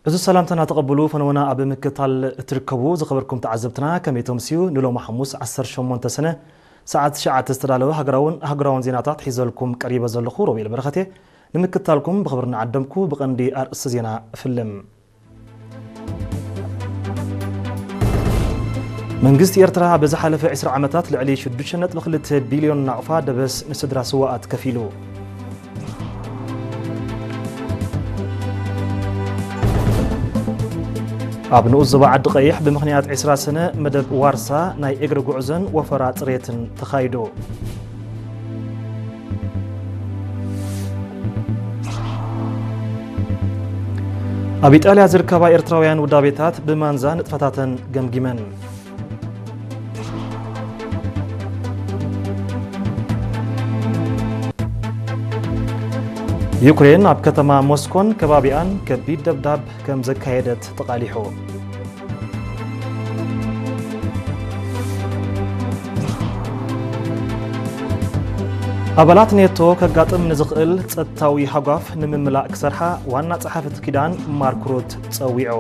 እዚ ሰላምታና ተቐብሉ፣ ፈነወና ኣብ ምክታል እትርከቡ ዝኸበርኩም ተዓዘብትና፣ ከመይ ተምስዩ? ንሎሚ ሓሙስ ዓሰርተ ሸሞንተ ሰነ ሰዓት ትሽዓተ ዝተዳለወ ሃገራውን ሃገራውን ዜናታት ሒዘልኩም ቀሪበ ዘለኹ ሮቤል በረኸቴ። ንምክታልኩም ብኽብሪ እናዓደምኩ ብቐንዲ ኣርእስቲ ዜና እፍልም። መንግስቲ ኤርትራ ኣብ ዝሓለፈ ዕስራ ዓመታት ልዕሊ ሽዱሽተ ነጥቢ ክልተ ቢልዮን ናቕፋ ደበስ ንስድራ ስዋኣት ከፊሉ። ኣብ ንኡስ ዞባ ዓዲ ቀይሕ ብምኽንያት ዕስራ ሰነ መደብ ዋርሳ ናይ እግሪ ጉዕዞን ወፈራ ጽሬትን ተኻይዱ። ኣብ ኢጣልያ ዝርከባ ኤርትራውያን ውዳቤታት ብማንዛ ንጥፈታተን ገምጊመን። ዩክሬን ኣብ ከተማ ሞስኮን ከባቢኣን ከቢድ ደብዳብ ከም ዘካየደት ተቓሊሑ። ኣባላት ኔቶ ከጋጥም ንዝኽእል ጸጥታዊ ሃጓፍ ንምምላእ ክሰርሓ ዋና ጸሓፊ እቲ ኪዳን ማርክ ሩት ጸዊዑ።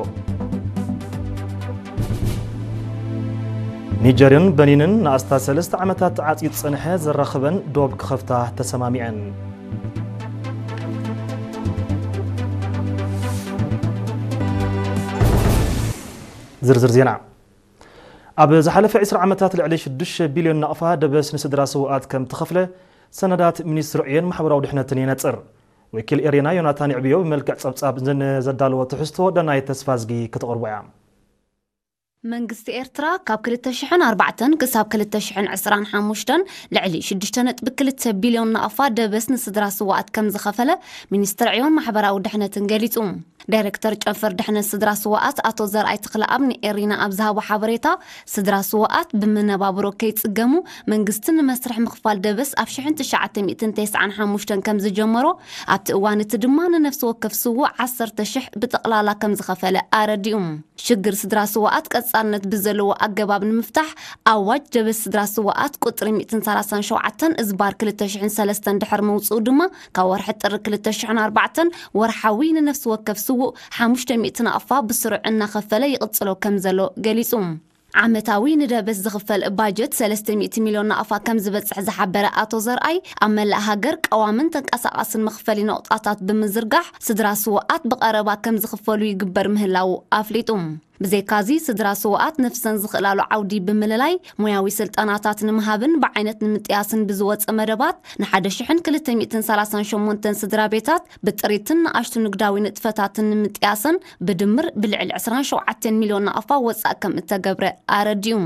ኒጀርን በኒንን ንኣስታት ሰለስተ ዓመታት ተዓጽዩ ዝጸንሐ ዘራኽበን ዶብ ክኸፍታ ተሰማሚዐን። ዝርዝር ዜና። ኣብ ዝሓለፈ ዕስራ ዓመታት ልዕሊ ሽዱሽተ ቢልዮን ናቕፋ ደበስ ንስድራ ስውኣት ከም ተኸፍለ ሰነዳት ሚኒስትሪ ዕዮን ማሕበራዊ ድሕነትን የነጽር። ወኪል ኤሪና ዮናታን ይዕብዮ ብመልክዕ ጸብጻብ ንዘዳለዎ ትሕዝቶ ደናይ ተስፋዝጊ ከተቕርቦ እያ። መንግስቲ ኤርትራ ካብ ክልተ ሽሕን ኣርባዕተን ክሳብ ክልተ ሽሕን ዕስራን ሓሙሽተን ልዕሊ ሽዱሽተ ነጥቢ ክልተ ቢልዮን ናቕፋ ደበስ ንስድራ ስውኣት ከም ዝኸፈለ ሚኒስትሪ ዕዮን ማሕበራዊ ድሕነትን ገሊጹ። ዳይሬክተር ጨንፈር ድሕነት ስድራ ስውኣት ኣቶ ዘርኣይ ተኽለኣብ ንኤሪና ኣብ ዝሃቦ ሓበሬታ፣ ስድራ ስውኣት ብመነባብሮ ከይጽገሙ መንግስቲ ንመስርሕ ምኽፋል ደበስ ኣብ ሽሕን ትሽዓተ ሚእትን ተስዓን ሓሙሽተን ከም ዝጀመሮ፣ ኣብቲ እዋን እቲ ድማ ንነፍሲ ወከፍ ስዉእ ዓሰርተ ሽሕ ብጠቕላላ ከም ዝኸፈለ ኣረዲኡ። ሽግር ስድራ ስውኣት ቀጻልነት ብዘለዎ ኣገባብ ንምፍታሕ ኣዋጅ ደበስ ስድራ ስውኣት ቁጽሪ ሚእትን ሰላሳን ሸውዓተን እዝባር ክልተ ሽሕን ሰለስተን ድሕሪ ምውጽኡ ድማ ካብ ወርሒ ጥሪ ክልተ ሽሕን ኣርባዕተን ወርሓዊ ንነፍሲ ወከፍ ስዉእ ሓሙሽተ ሚእቲ ናቕፋ ብስሩዕ እናኸፈለ ይቕጽሎ ከም ዘሎ ገሊጹ። ዓመታዊ ንደበስ ዝኽፈል ባጀት ሰለስተ ሚእቲ ሚልዮን ናቕፋ ከም ዝበጽሕ ዝሓበረ ኣቶ ዘርኣይ፣ ኣብ መላእ ሃገር ቀዋምን ተንቀሳቓስን መኽፈሊ ነቑጣታት ብምዝርጋሕ ስድራ ስውኣት ብቐረባ ከም ዝኽፈሉ ይግበር ምህላዉ ኣፍሊጡ። ብዘይካዚ፣ ስድራ ስውኣት ነፍሰን ዝኽእላሉ ዓውዲ ብምልላይ፣ ሞያዊ ስልጠናታት ንምሃብን ብዓይነት ንምጥያስን ብዝወጸ መደባት፣ ንሓደ ሽሕን ክልተ ሚእትን ሰላሳን ሸሞንተን ስድራ ቤታት ብጥሪትን ንኣሽቱ ንግዳዊ ንጥፈታትን ንምጥያስን ብድምር ብልዕሊ ዕስራን ሸውዓተን ሚልዮን ናቕፋ ወጻእ ከም እተገብረ ኣረዲኡ።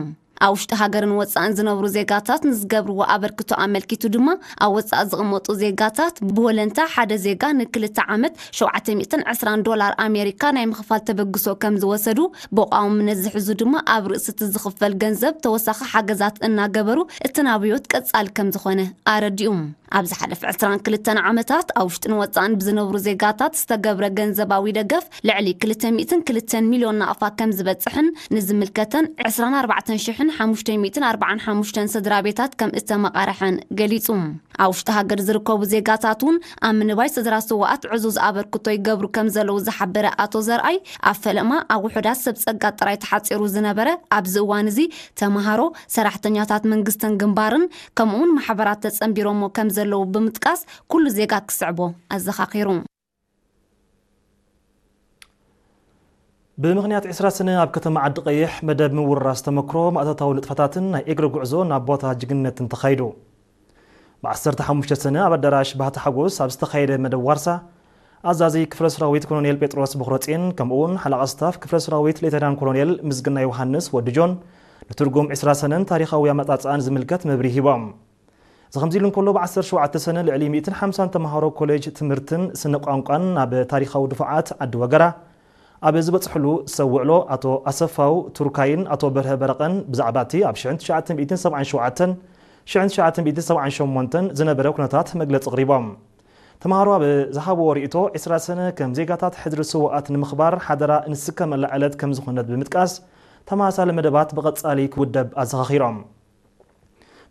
ኣብ ውሽጢ ሃገርን ወጻእን ዝነብሩ ዜጋታት ንዝገብርዎ ኣበርክቶ ኣመልኪቱ ድማ፣ ኣብ ወጻእ ዝቕመጡ ዜጋታት ብወለንታ ሓደ ዜጋ ንክልተ ዓመት ሸውዓተ ሚእትን ዕስራን ዶላር ኣሜሪካ ናይ ምኽፋል ተበግሶ ከም ዝወሰዱ፣ ብቋውምነት ዝሕዙ ድማ ኣብ ርእሲ እቲ ዝኽፈል ገንዘብ ተወሳኺ ሓገዛት እናገበሩ እቲ ናብዮት ቀጻሊ ከም ዝኾነ ኣረዲኡ። ኣብ ዝሓለፈ ዕስራን ክልተን ዓመታት ኣብ ውሽጥን ወጻእን ብዝነብሩ ዜጋታት ዝተገብረ ገንዘባዊ ደገፍ ልዕሊ ክልተ ሚእትን ክልተን ሚልዮን ናቕፋ ከም ዝበጽሕን ንዝምልከተን ዕስራን ኣርባዕተን ሽሕን ሓሙሽተ ሚእትን ኣርባዓን ሓሙሽተን ስድራ ቤታት ከም እተመቓርሐን ገሊጹ። ኣብ ውሽጢ ሃገር ዝርከቡ ዜጋታት እውን ኣብ ምንባይ ስድራ ስውኣት ዕዙዝ ኣበርክቶ ይገብሩ ከም ዘለዉ ዝሓበረ ኣቶ ዘርኣይ፣ ኣብ ፈለማ ኣብ ውሑዳት ሰብ ጸጋ ጥራይ ተሓጺሩ ዝነበረ ኣብዚ እዋን እዚ ተመሃሮ፣ ሰራሕተኛታት መንግስትን ግንባርን ከምኡውን ማሕበራት ተጸንቢሮሞ ከም ዘለዉ ብምጥቃስ፣ ኩሉ ዜጋ ክስዕቦ ኣዘኻኺሩ። ብምኽንያት ዕስራ ሰነ ኣብ ከተማ ዓዲ ቀይሕ መደብ ምውርራስ ተመክሮ ማእቶታዊ ንጥፈታትን ናይ እግሪ ጉዕዞ ናብ ቦታ ጅግንነትን ተኻይዱ። ብ ዓሰርተ ሓሙሽተ ሰነ ኣብ ኣዳራሽ ባህታ ሓጎስ ኣብ ዝተኻየደ መደብ ዋርሳ፣ ኣዛዚ ክፍለ ሰራዊት ኮሎኔል ጴጥሮስ በኽረጽዮን፣ ከምኡውን ሓለቓ ስታፍ ክፍለ ሰራዊት ሌተናን ኮሎኔል ምስግና ዮሃንስ ወዲ ጆን፣ ንትርጉም ዕስራ ሰነን ታሪኻዊ ኣመጻጽኣን ዝምልከት መብርሂ ሂቦም። እዚ ከምዚ ኢሉ እንከሎ፣ ብ ዓሰርተ ሸውዓተ ሰነ ልዕሊ ሚእትን ሓምሳን ተምሃሮ ኮሌጅ ትምህርትን ስነ ቋንቋን ናብ ታሪኻዊ ድፉዓት ዓዲ ወገራ ኣብ ዝበጽሕሉ ሰብ ውዕሎ፣ ኣቶ ኣሰፋው ቱርካይን ኣቶ በርሀ በረቐን ብዛዕባ እቲ ኣብ ሽሕን ትሽዓተ ሚእትን ሰብዓን ሸውዓተን፣ ሽሕን ትሽዓተ ሚእትን ሰብዓን ሸሞንተን ዝነበረ ኩነታት መግለጺ ኣቕሪቦም። ተምሃሮ ኣብ ዝሃብዎ ርእይቶ፣ ዕስራ ሰነ ከም ዜጋታት ሕድሪ ስውኣት ንምኽባር ሓደራ እንስከመላ ዕለት ከም ዝኾነት ብምጥቃስ፣ ተመሳሳሊ መደባት ብቐጻሊ ክውደብ ኣዘኻኺሮም።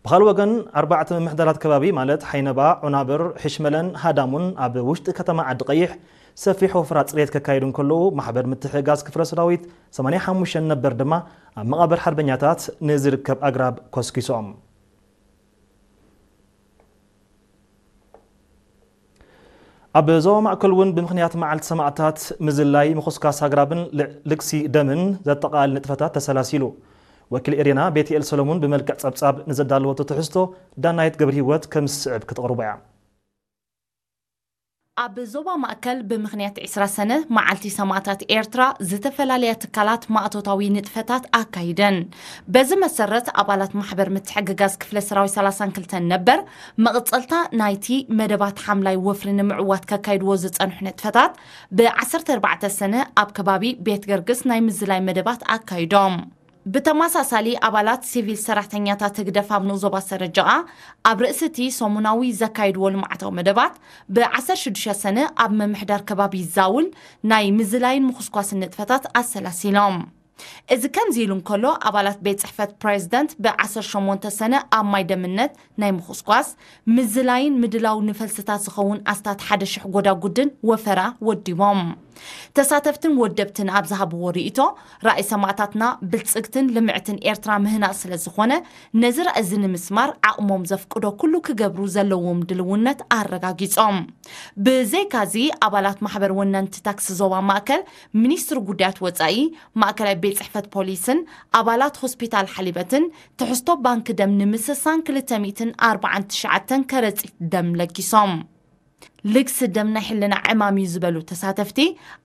ብኻልእ ወገን፣ ኣርባዕተ ምምሕዳራት ከባቢ ማለት ሓይነባ፣ ዑናብር፣ ሕሽመለን ሃዳሙን ኣብ ውሽጢ ከተማ ዓዲ ቀይሕ ሰፊሕ ወፍራ ጽሬት ከካይዱ እንከለዉ፣ ማሕበር ምትሕግጋዝ ክፍለ ሰራዊት ሰማንያ ሓሙሽተ ነበር ድማ ኣብ መቓብር ሓርበኛታት ንዝርከብ ኣግራብ ኮስኪሶም። ኣብ ዞባ ማእከል እውን ብምኽንያት መዓልቲ ሰማእታት ምዝላይ ምኹስኳስ ኣግራብን ል-፣ ልግሲ ደምን ዘጠቓልል ንጥፈታት ተሰላሲሉ። ወኪል ኤሬና ቤትኤል ሰሎሙን ብመልክዕ ጸብጻብ ንዘዳለወቶ ትሕዝቶ ዳናይት ገብረ ህይወት ከም ዝስዕብ ክተቕርቦ እያ። ኣብ ዞባ ማእከል ብምኽንያት ዕስራ ሰነ መዓልቲ ሰማእታት ኤርትራ ዝተፈላለያ ትካላት ማእቶታዊ ንጥፈታት ኣካይደን። በዚ መሰረት ኣባላት ማሕበር ምትሕግጋዝ ክፍለ ሰራዊት ሰላሳን ክልተን ነበር መቕጸልታ ናይቲ መደባት ሓምላይ ወፍሪ ንምዕዋት ከካይድዎ ዝጸንሑ ንጥፈታት ብ ዓሰርተ ኣርባዕተ ሰነ ኣብ ከባቢ ቤት ገርግስ ናይ ምዝላይ መደባት ኣካይዶም። ብተመሳሳሊ ኣባላት ሲቪል ሰራሕተኛታት ህግደፍ ኣብ ንኡስ ዞባ ሰረጀቓ ኣብ ርእሲ እቲ ሰሙናዊ ዘካይድዎ ልምዓታዊ መደባት ብ ዓሰርተ ሽዱሽተ ሰነ ኣብ ምምሕዳር ከባቢ ዛውል ናይ ምዝላይን ምኹስኳስን ንጥፈታት ኣሰላሲሎም። እዚ ከምዚ ኢሉ እንከሎ፣ ኣባላት ቤት ጽሕፈት ፕሬዝደንት ብ ዓሰርተ ሸሞንተ ሰነ ኣብ ማይ ደምነት ናይ ምኹስኳስ፣ ምዝላይን ምድላው ንፈልስታት ዝኸውን ኣስታት ሓደ ሽሕ ጎዳጉድን ወፈራ ወዲቦም። ተሳተፍትን ወደብትን ኣብ ዝሃብዎ ርእይቶ፣ ራእይ ሰማእታትና ብልጽግትን ልምዕትን ኤርትራ ምህናጽ ስለ ዝኾነ፣ ነዚ ራእይ እዚ ንምስማር ዓቕሞም ዘፍቅዶ ኩሉ ክገብሩ ዘለዎም ድልውነት ኣረጋጊጾም። ብዘይካዚ፣ ኣባላት ማሕበር ወነንቲ ታክሲ ዞባ ማእከል፣ ሚኒስትሪ ጉዳያት ወጻኢ፣ ማእከላይ ቤት ጽሕፈት ፖሊስን ኣባላት ሆስፒታል ሓሊበትን ትሕዝቶ ባንክ ደም ንምስሳን ክልተ ሚእትን ኣርባዓን ትሽዓተን ከረጺት ደም ለጊሶም። ልግሲ ደም ናይ ሕልና ዕማም እዩ ዝበሉ ተሳተፍቲ፣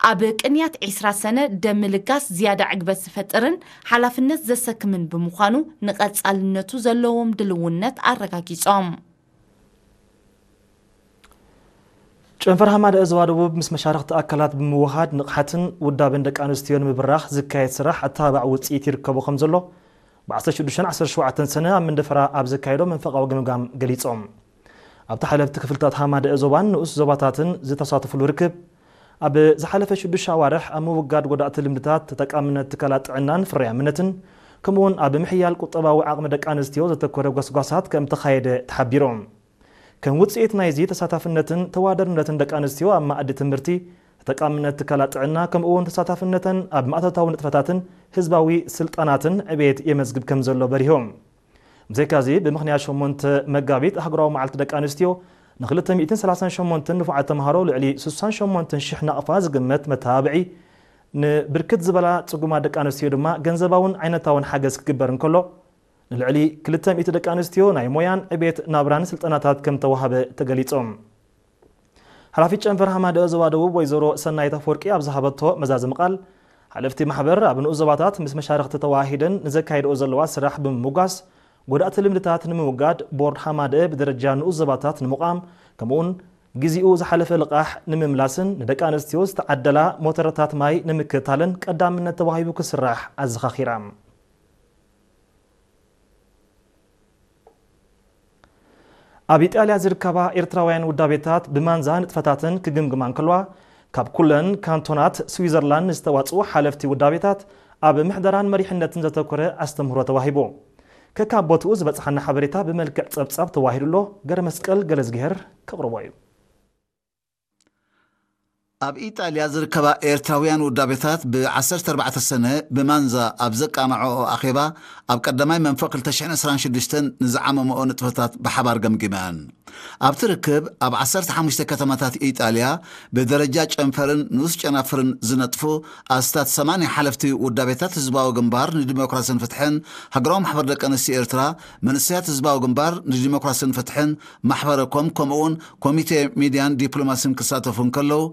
ኣብ ቅንያት ዕስራ ሰነ ደም ምልጋስ ዝያዳ ዕግበት ዝፈጥርን ሓላፍነት ዘሰክምን ብምዃኑ ንቐጻልነቱ ዘለዎም ድልውነት ኣረጋጊጾም። ጨንፈር ሃማደአ ዞባ ደቡብ ምስ መሻርኽቲ ኣካላት ብምውሃድ ንቕሓትን ውዳበን ደቂ ኣንስትዮ ንምብራኽ ዝካየድ ስራሕ ኣተባባዕ ውፅኢት ይርከቦ ከም ዘሎ ብ ዓሰርተ ሽዱሽተን ዓሰርተ ሸውዓተን ሰነ ኣብ መንደፈራ ኣብ ዘካየዶ መንፈቓዊ ግምጋም ገሊጾም። ኣብቲ ሓለፍቲ ክፍልታት ሃማደአ ዞባን ንኡስ ዞባታትን ዝተሳተፉሉ ርክብ፣ ኣብ ዝሓለፈ ሽዱሽተ ኣዋርሕ ኣብ ምውጋድ ጎዳእቲ ልምድታት ተጠቃምነት ትካላት ጥዕናን ፍርያምነትን፣ ከምኡውን ኣብ ምሕያል ቁጠባዊ ዓቕሚ ደቂ ኣንስትዮ ዘተኮረ ጎስጓሳት ከም ተኻየደ ተሓቢሮም። ከም ውጽኢት ናይዚ ተሳታፍነትን ተዋደርነትን ደቂ ኣንስትዮ ኣብ መኣዲ ትምህርቲ፣ ተጠቃምነት ትካላት ጥዕና፣ ከምኡውን ተሳታፍነተን ኣብ ማእቶታዊ ንጥፈታትን ህዝባዊ ስልጣናትን ዕቤት የመዝግብ ከም ዘሎ በሪሆም። ብዘይካዚ፣ ብምኽንያት ሸሞንተ መጋቢት ኣህጉራዊ መዓልቲ ደቂ ኣንስትዮ፣ ንክልተ ሚእትን ሰላሳን ሸሞንተን ንፉዓት ተምሃሮ ልዕሊ ስሳን ሸሞንተን ሽሕ ናቕፋ ዝግመት መተባብዒ፣ ንብርክት ዝበላ ጽጉማት ደቂ ኣንስትዮ ድማ ገንዘባውን ዓይነታውን ሓገዝ ክግበር እንከሎ፣ ንልዕሊ ክልተ ሚእቲ ደቂ ኣንስትዮ ናይ ሞያን ዕቤት ናብራን ስልጠናታት ከም ተዋህበ ተገሊጾም። ሓላፊት ጨንፈር ሃማደአ ዞባ ደቡብ ወይዘሮ ሰናይት ኣፈወርቂ ኣብ ዝሃበቶ መዛዘሚ ቃል፣ ሓለፍቲ ማሕበር ኣብ ንኡስ ዞባታት ምስ መሻርኽቲ ተዋሂደን ንዘካይድኦ ዘለዋ ስራሕ ብምምጓስ፣ ጎዳእቲ ልምድታት ንምውጋድ ቦርድ ሃማደአ ብደረጃ ንኡስ ዞባታት ንምቋም፣ ከምኡውን ግዜኡ ዝሓለፈ ልቓሕ ንምምላስን ንደቂ ኣንስትዮ ዝተዓደላ ሞተረታት ማይ ንምክትታልን ቀዳምነት ተዋሂቡ ክስራሕ ኣዘኻኺራ። ኣብ ኢጣልያ ዝርከባ ኤርትራውያን ውዳቤታት ብማንዛ ንጥፈታተን ክግምግማ እንከለዋ፣ ካብ ኩለን ካንቶናት ስዊዘርላንድ ዝተዋጽኡ ሓለፍቲ ውዳቤታት ኣብ ምሕደራን መሪሕነትን ዘተኮረ ኣስተምህሮ ተዋሂቡ። ከካብ ቦትኡ ዝበጽሓና ሓበሬታ ብመልክዕ ጸብጻብ ተዋሂዱ ኣሎ። ገረመስቀል ገለዝግሄር ከቕርቦ እዩ። ኣብ ኢጣልያ ዝርከባ ኤርትራውያን ውዳቤታት ብ ዓሰርተ ኣርባዕተ ሰነ ብማንዛ ኣብ ዘቃናዐኦ ኣኼባ፣ ኣብ ቀዳማይ መንፈቕ ክልተ ሽሕን ዕስራን ሽዱሽተን ንዝዓመመኦ ንጥፈታት ብሓባር ገምጊመን። ኣብቲ ርክብ፣ ኣብ ዓሰርተ ሓሙሽተ ከተማታት ኢጣልያ ብደረጃ ጨንፈርን ንኡስ ጨናፍርን ዝነጥፉ ኣስታት ሰማንያ ሓለፍቲ ውዳቤታት ህዝባዊ ግንባር ንዲሞክራስን ፍትሕን፣ ሃገራዊ ማሕበር ደቂ ኣንስትዮ ኤርትራ፣ መንእሰያት ህዝባዊ ግንባር ንዲሞክራስን ፍትሕን፣ ማሕበረ ኮም፣ ከምኡውን ኮሚቴ ሚድያን ዲፕሎማስን ክሳተፉ እንከለዉ፣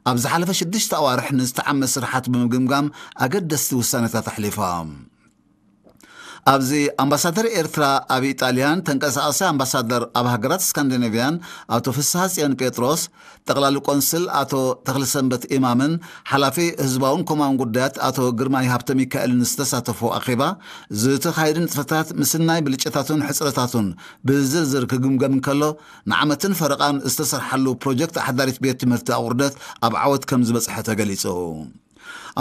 ኣብ ዝሓለፈ ሽዱሽተ ኣዋርሕ ንዝተዓመ ስራሓት ብምግምጋም ኣገደስቲ ውሳኔታት ኣሕሊፎም። ኣብዚ ኣምባሳደር ኤርትራ ኣብ ኢጣልያን ተንቀሳቓሲ ኣምባሳደር ኣብ ሃገራት ስካንዲኔቭያን ኣቶ ፍስሃጽዮን ጴጥሮስ፣ ጠቕላሊ ቆንስል ኣቶ ተኽለሰንበት ኢማምን ሓላፊ ህዝባውን ኮማውን ጉዳያት ኣቶ ግርማይ ሃብተሚካኤልን ዝተሳተፎ ኣኼባ፣ ዝተኻየዱ ንጥፈታት ምስናይ ብልጫታቱን ሕጽረታቱን ብዝርዝር ክግምገም እንከሎ፣ ንዓመትን ፈረቓን ዝተሰርሓሉ ፕሮጀክት ኣሕዳሪት ቤት ትምህርቲ ኣቑርደት ኣብ ዓወት ከም ዝበጽሐ ተገሊጹ።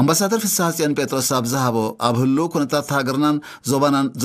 ኣምባሳደር ፍስሃጽዮን ጴጥሮስ ኣብ ዝሃቦ፣ ኣብ ህሉው ኩነታት ሃገርናን ዞባናን ዘተ